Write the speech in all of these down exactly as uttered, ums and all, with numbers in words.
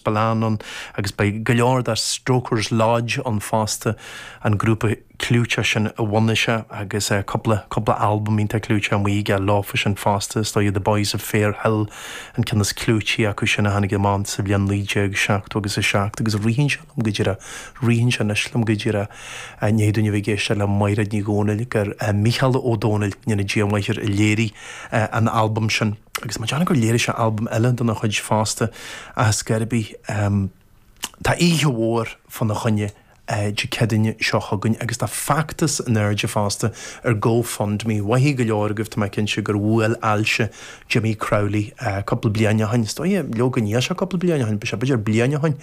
Spillane ann agus beidh go leor de Strokers Lodge ann fosta, an grúpa clúiteach sin a bhunaigh sé agus cúpla cúpla albam iontach clúiteach amuigh aige leofa sin fosta, is dóigh The Boys of Fair Hill an ceann is clúití acu sin a tháinig amach sa bhliain naoi déag seachtó agus a seacht agus ritheann sé liom go díreach, ritheann sé anois liom go díreach i ndiaidh dúinn a bheith ag éisteacht le Mairéad Ní Dhomhnaill gur Mícheál Ó Domhnaill, go ndéana Dia maith air, a léirigh an albam sin. Agus má déanamh gur léirigh sé albam eile dona chuid fosta ach ar scor ar bith, tá oíche mhór fána choinne Dé Céadaoine seo chugainn agus tá feachtas in airde fosta ar GoFundMe. Mhaithfidh go leor agaibh, tá mé cinnte, gur bhuail ailse Jimmy Crowley cúpla bliain ó shin. Is dóigh leoga níl sé cúpla bliain ó shin, b'fhéidir b'fhéidir bliain ó shin.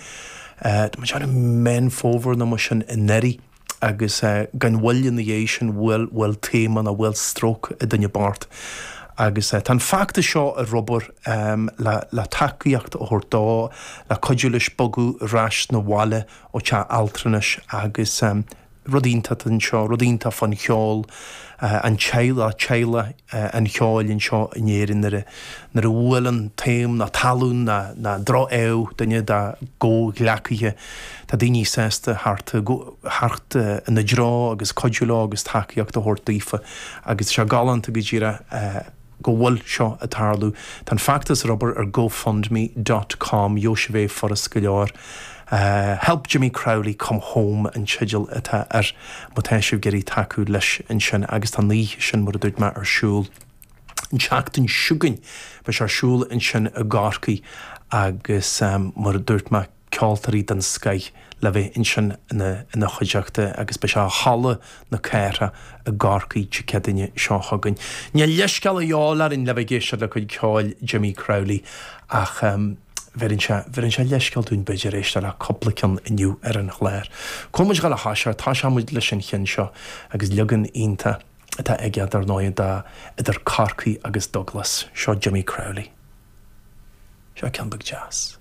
Tá mé ag déanamh Meán Fómhair nó mar sin anuraidh agus gan mhoill ina dhiaidh sin bhuail bhuail taoma nó bhuail stróc an duine bocht. Agus tá an feachtas seo ar obair le le tacaíocht a thabhairt dó, le cuidiú leis bogadh ar ais 'na bhaile ó teach altranais agus rud iontach anseo, rud iontach fán cheol, an teaghlach, teaghlach an cheoil anseo in Éirinn nuair a nuair a bhuaileann taom ná talún ná ná droch-ádh duine dá gcomhghleacaithe, tá daoine sásta theacht theacht ina dtreo agus cuidiú leo agus tacaíocht a thabhairt daofa agus tá sé galánta go díreach go bhfuil seo ag tarlú. Tá an feachtas ar obair ar GoFundMe dot com, gheobhaidh sibh é furast go leor. Help Jimmy Crowley Come Home an teideal atá air má tá sibh ag iarraidh tacú leis ansin agus tá an oíche sin mar a dúirt mé ar siúl an tseachtain seo chugainn. Beidh sé ar siúl ansin i gCorcaigh agus mar a dúirt mé ceoltóirí den scoith le bheith ansin ina chuideachta agus beidh sé i Halla na Cathrach i gCorcaigh Dé Céadaoine seo chugainn. Níl leithscéal a dhíobháil orainn le bheith ag éisteacht le cuid ceoil Jimmy Crowley ach bheireann sé, bheireann sé leithscéal dúinn b'fhéidir éisteacht le cúpla ceann inniu ar an chlár. Cá bhfuil muid ag dul a thoiseacht? Toiseoidh muid leis an cheann seo agus leagan iontach atá aige dar ndóigh de idir Corcaigh agus Douglas. Seo Jimmy Crowley. Seo ceann beag deas.